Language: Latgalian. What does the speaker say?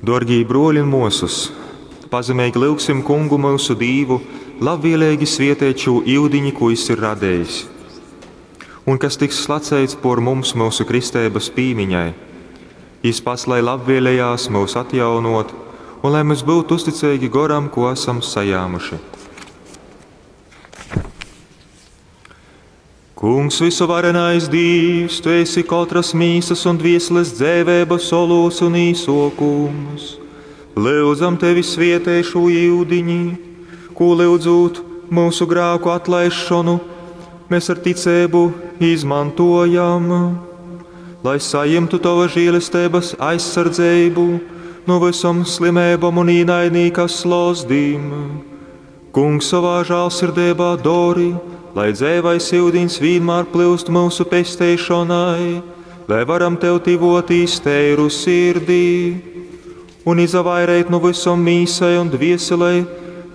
Dōrgī brōļi un mōsas, pazemeigi lyugsim Kungu myusu Dīvu labvieleigi svieteit šū iudiņi, kū Jis ir radejis, un kas tiks slaceits pōr mums myusu kristeibas pīmiņai. Jis pats lai labvielejās myus atjaunōt un lai mes byutu uzticeigi Goram, kū asam sajāmuši. Kungs, vysuvarenais Dīvs, Tu esi kotras mīsas un dvieseles dzeiveibas olūts un īsōkums. Lyudzam Tevi svietej šū iudiņi, kū lyudzūt myusu grāku atlaisšonu, mēs ar ticeibu izmantojam, lai sajimtu Tova žēlesteibas aizsardzeibu nu vysom slimeibom un īnaidnīka slozdim. Kungs sovā žālsirdeibā dori, lai dzeivais iudiņs vīnmār plyust myusu pesteišonai, lai varam Tev tyvōtīs teiru sirdī un izavaireit nu vysom mīsai un dvieselei.